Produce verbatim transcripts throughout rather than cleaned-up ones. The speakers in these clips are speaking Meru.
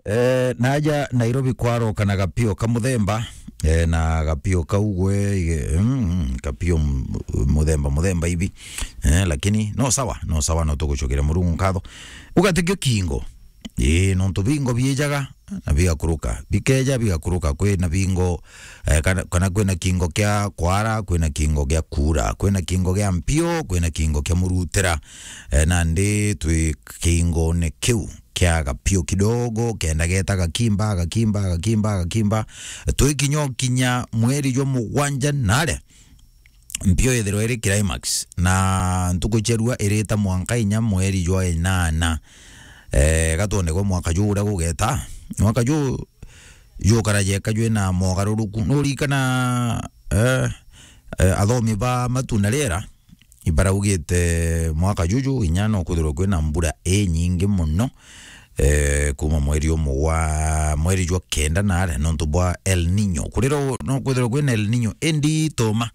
Eh, naja Nairobi kwaroka na gapio ka muthemba, eh, na gapio kau gwe, mm, mm, kapio m-, muthemba, muthemba hivi. Eh, lakini no sawa, no sawa, no tugucokeria Murungu nkatho. Ugatikio kingo. Ii, nontu bingo biijaga na bigakuruka. Bikeja bigakuruka, kwina bingo, eh, kana, kana kwina kingo kia kwara, kwina kingo gia kuura, kwina kingo gia mpio, kwina kingo kia murutira. Eh, nandi twi kingone kiu kia gapio kidogo, kenda geta gakimba, gakimba, gakimba, gakimba. Twikinya kinya mweri jwa mugwanja nare, mpio ithirwa iri climax, na ntuku cia rua irita mwanka inya mweri jwa inana. Eh, gatwone gwa mwaka juu uria gugeta. Mwaka juu jukara jeka jwina mogaruruku. Nurikana, eh, eh, athomi ba matu na riera ibaraugite mwaka juju inya no kwithirwa kwina mbura inyingi muno, eh, kuma mweri umwe wa, mweri jwa kenda nare nontu bwa El Nino. Kurira u-, no kwithirwa kwina El Nino indito ma.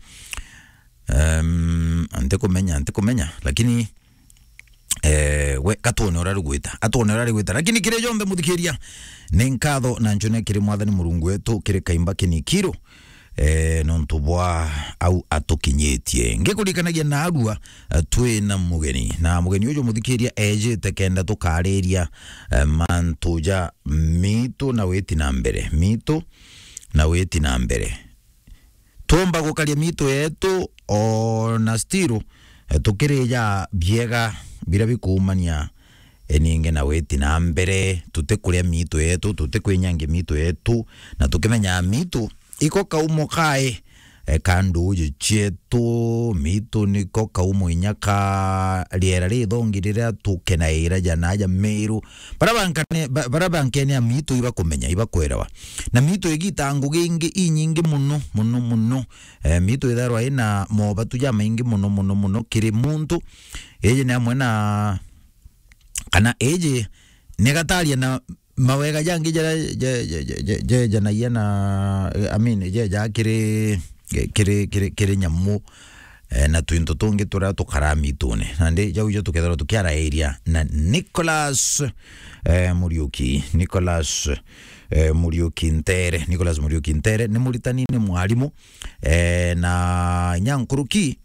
Em, ntikumenya, ntikumenya, lakini, eh, we, gatwone uria rigwita, atwone uria rigwita. Lakini kiri jonthe, muthikiria, ni nkatho na ncune kiri Mwathani Murungu wetu, kiri kaimba kinikiru, eh, nontu bwa au atukinyitie. Ngikurikanagia narua, eh, twina mugeni. Na mugeni uju, muthikiria, ejite kenda tukariria, eh, mantu ja mitu na witi na mbere. Mitu na witi na mbere. Twomba gukaria mitu yetu, o na still, eh, tukirija biega biria bikuumania, eh, ningi na witi na mbere. Tutikuria mitu yetu, tutikwinyangia mitu yetu, na tukimenya mitu iko kaumo kae, eh, ka nduuji cietu. Mitu niko kaumo inya ka riera rithongi riria tukenaira ja naja Meru. Bara bankane-, ba-, bara bankenea mitu ibakumenya, ibakwerewa. Na mitu igita ngugi ingi inyingi muno, muno, muno. Eh, mitu itharwa ina mobatu jamaingi muno, muno, muno kiri muntu. Iji ni amwe na, kana iji ni gataria na mawega jangi jaria je-, je-, je-, je-, jejanagia na, eh, I mean, jeja kiri, kiri, kiri, kiri nyamu, eh, na twinto tungi turia tukaraa mitune. Nandi jau ijo tukethirwa tukiarairia na Nicholas, eh, Muriuki. Nicholas, eh, Muriuki Ntere. Nicholas Muriuki Ntere ni muritani, ni mwarimu, eh, na inya nkuruki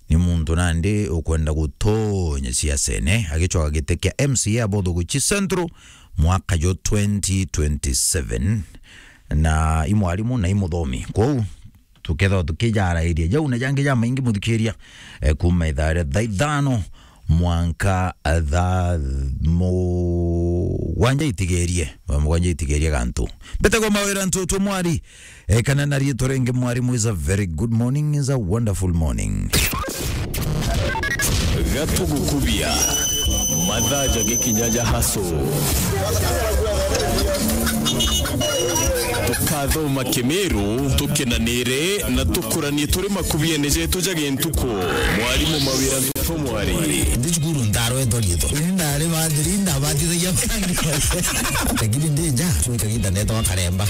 ni muntu nandi ukwenda gutonya siasene, agicoka giti kia M C A Abothuguchi Central mwaka jwa twenty twenty-seven, na i mwarimu na i muthomi. Kwou, tukethirwa tukijarairia jau na jangi jamaingi, muthikiria, eh, kuma ithaa ria thaa ithano mwanka thaa mugwanja itigerie, thaa mugwanja itigerie gantu. Mbetagwa Mawira Ntutu Mwari, eh, kana na riitwa ringi Mwarimu, is a very good morning, is a wonderful morning. Gatugukubia, mathaa jagikinya ja haso. Tukathoma Kimiru, tukenanire na tukuranie turi makubiene jetu ja gintuku. Mwarimu Mawira Ntutu Mwari. Ndi cukuru ndarwetwa riitwa. Ini ndari bathiri, ndabathithagia. Lakini ndi nja, cwika gita ndetwa karemba.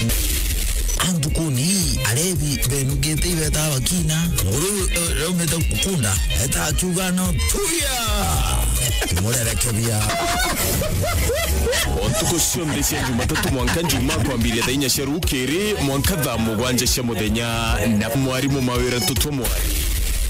Antukuni, arebi, benukite ibeta bakina. Nguru, eh, raumite kukunda, eta akiuga no tuya. Murerekebia. O ntuku cionthe cia Jumatatu mwanka Njumaa kwambiria thaa inya cia rukiri mwanka thaa mugwanja cia muthenya na Mwarimu Mawira Ntutu Mwari.